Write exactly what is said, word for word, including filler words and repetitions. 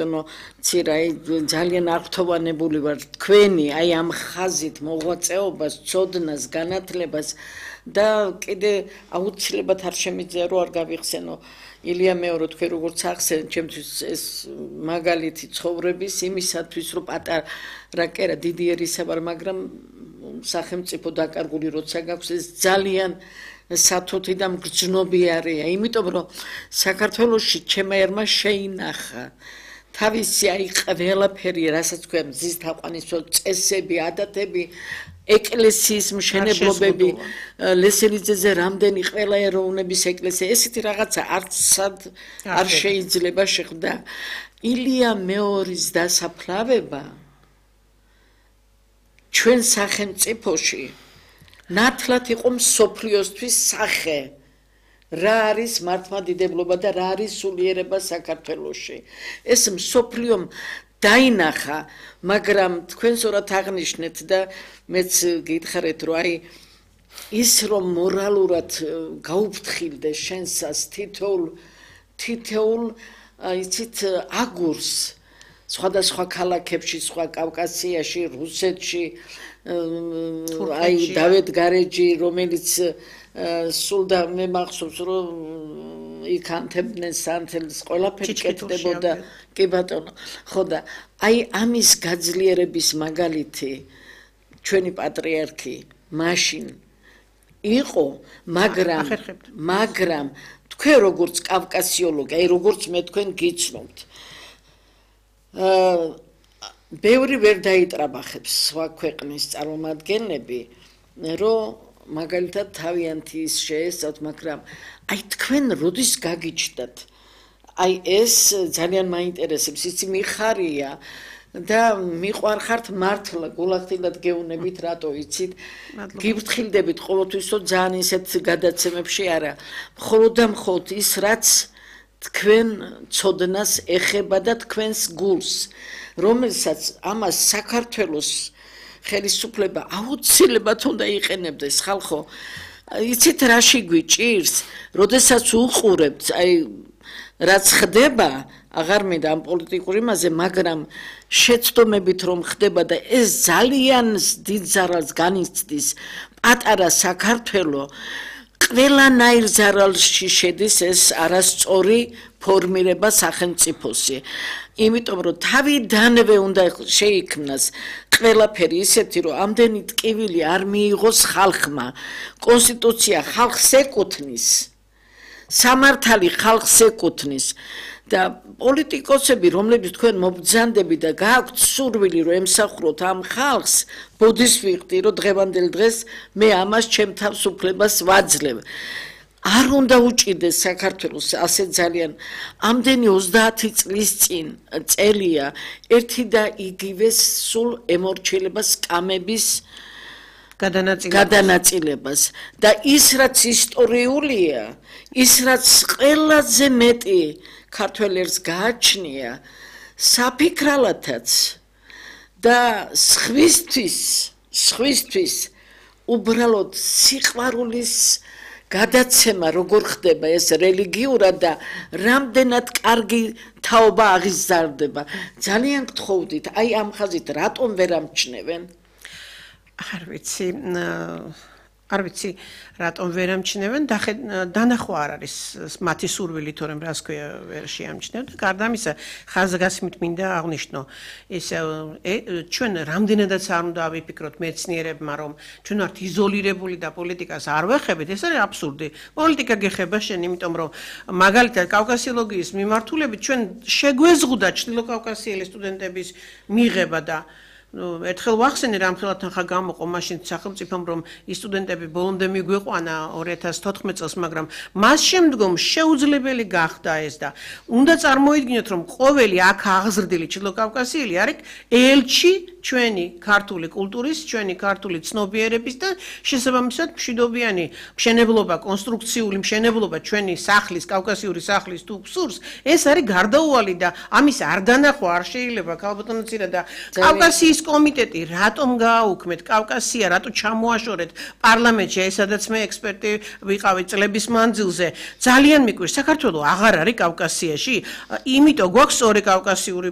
no tsirai ძალიან აღფრთოვანებული ვარ თქვენი აი ამ ხაზით მოღვაწეობას, წოდნას, განათლებას და კიდე აუცილებლად არ შემიძლია რომ არ გავიხსენო ილია მეორე თქვენ როგორც ახსენეთ ჩემთვის ეს მაგალითი ცხოვრების იმისათვის რომ პატარა კერა დიდი ერისა ვარ მაგრამ სახელმწიფო დაკარგული როცა გაქვს ეს ძალიან სათუთი და მგრძნობიარეა იმიტომ რომ საქართველოში ჩემმა ერმა შეინახა თავისი აი ყველაფერი რასაც თქვენ მზის თაყვანისმცემლ წესები ადათები ეკლესიის მშენებლობები ლესელიძეზე რამდენი ყველა ეროვნების ეკლესია ესეთი რაღაცა არცად არ შეიძლება შეხვდა ილია მეორის დასაფლავება ჩვენ სახელმწიფოში ნათლად იყო მსოფლიოსთვის სახე რა არის მართლმადიდებლობა და რა არის სულიერება საქართველოში ეს მსოფლიომ დაინახა მაგრამ თქვენ სწორად აღნიშნეთ და მეც გითხარით რომ აი ის რომ მორალურად გაუფრთხილდე შენსას თითოეულ თითოეულ იცით აგურს სხვადასხვა ქალაქებში სხვა კავკასიაში რუსეთში აი დავით გარეჯი რომელიც სულ და მე მახსოვს რომ იქ ანთებდნენ სანთელს ყველაფერი კეთდებოდა კი ბატონო ხო და აი ამის გაძლიერების მაგალითი ჩვენი პატრიარქი მაშინ იყო მაგრამ მაგრამ თქვენ როგორც კავკასიოლოგი აი როგორც მე თქვენ გიცნობთ აა ბევრი ვერ დაიტრაბახებს სხვა ქვეყნის წარმომადგენლები რომ მაგალითად თავიანთი ის შეესწავთ მაგრამ აი თქვენ როდის გაგიჩნდათ აი ეს ძალიან მაინტერესებს იცი მიხარია და მიყვარხართ მართლა გულახდილად გეუნებით რატო იცით გიფრთხილდებით ყოველთვის რომ ძალიან ისეთ გადაცემებში არა მხოლოდ და მხოლოდ ის რაც თქვენ ცოდნას ეხება და თქვენს გულს რომელსაც ამას საქართველოს ხელისუფლება აუცილებლად უნდა იყენებდეს ხალხო იცით რაში გვიჭირს როდესაც უყურებთ აი რაც ხდება აღარ მინდა ამ პოლიტიკურ იმაზე მაგრამ შეცდომებით რომ ხდება და ეს ძალიან დიდ ზარალს განიცდის პატარა საქართველო ყველანაირ ზარალში შედის ეს არასწორი ფორმირება სახელმწიფოსი იმიტომ რომ თავიდანვე უნდა შეიქმნას ყველაფერი ისეთი რომ ამდენი ტკივილი არ მიიღოს ხალხმა კონსტიტუცია ხალხს ეკუთვნის სამართალი ხალხს ეკუთვნის და პოლიტიკოსები რომლებიც თქვენ მობრძანდები და გააქვთ სურვილი რომ ემსახუროთ ამ ხალხს ბოდის ვიხდი რომ დღევანდელ დღეს მე ამას ჩემ თავს უფლებას ვაძლევ არ უნდა უჭირდეს საქართველოს ასე ძალიან ამდენი ოცდაათი წლის წინ წელია ერთი და იგივე სულ ემორჩილება სკამების გადანაწილებას და ის რაც ისტორიულია ის რაც ყველაზე მეტი ქართველებს გააჩნია საფიქრალათაც და სხვისთვის სხვისთვის უბრალოდ სიყვარულის გადაცემა როგორ ხდება ეს რელიგიურად და რამდენად კარგი თაობა აღიზარდება ძალიან გთხოვდით აი ამ ხაზით რატომ ვერ ამჩნევენ არ ვიცი არ ვიცი რატომ ვერ ამჩნევენ დანახვა არ არის მათი სურვილი თორემ რას ქვია ვერ შეამჩნევთ და გარდა ამისა ხაზგასმით მინდა აღნიშნო ეს ჩვენ რამდენადაც არ უნდა ავიფიქროთ მეცნიერებმა რომ ჩვენ ვართ იზოლირებული და პოლიტიკას არ ვეხებით ეს არის აბსურდი პოლიტიკა გეხება შენ იმიტომ რომ მაგალითად კავკასიოლოგიის მიმართულებით ჩვენ შეგვეზღუდა ჩრდილოკავკასიელი სტუდენტების მიღება და ერთხელ ვახსენე რამხელად ახლა გამოყო მაშინ სახელმწიფომ რომ ის სტუდენტები ბოლომდე მიგვიყვანა ორი ათას თოთხმეტ წელს მაგრამ მას შემდგომ შეუძლებელი გახდა ეს და უნდა წარმოიდგინოთ რომ ყოველი აქ აღზრდილი ჩრდილოკავკასიელი არის ელჩი ჩვენი ქართული კულტურის ჩვენი ქართული ცნობიერების და შესაბამისად მშვიდობიანი მშენებლობა კონსტრუქციული მშენებლობა ჩვენი სახლის კავკასიური სახლის თუ გსურს ეს არის გარდაუვალი და ამის არ დანახვა არ შეიძლება ქალბატონოცირა და კავკასიის კომიტეტი რატომ გააუქმეთ კავკასია რატო ჩამოაშორეთ პარლამენტში ესადაც მე ექსპერტი ვიყავი წლების მანძილზე ძალიან მიკვირს საქართველოს აღარ არის კავკასიაში იმიტომ გვაქვს ორი კავკასიური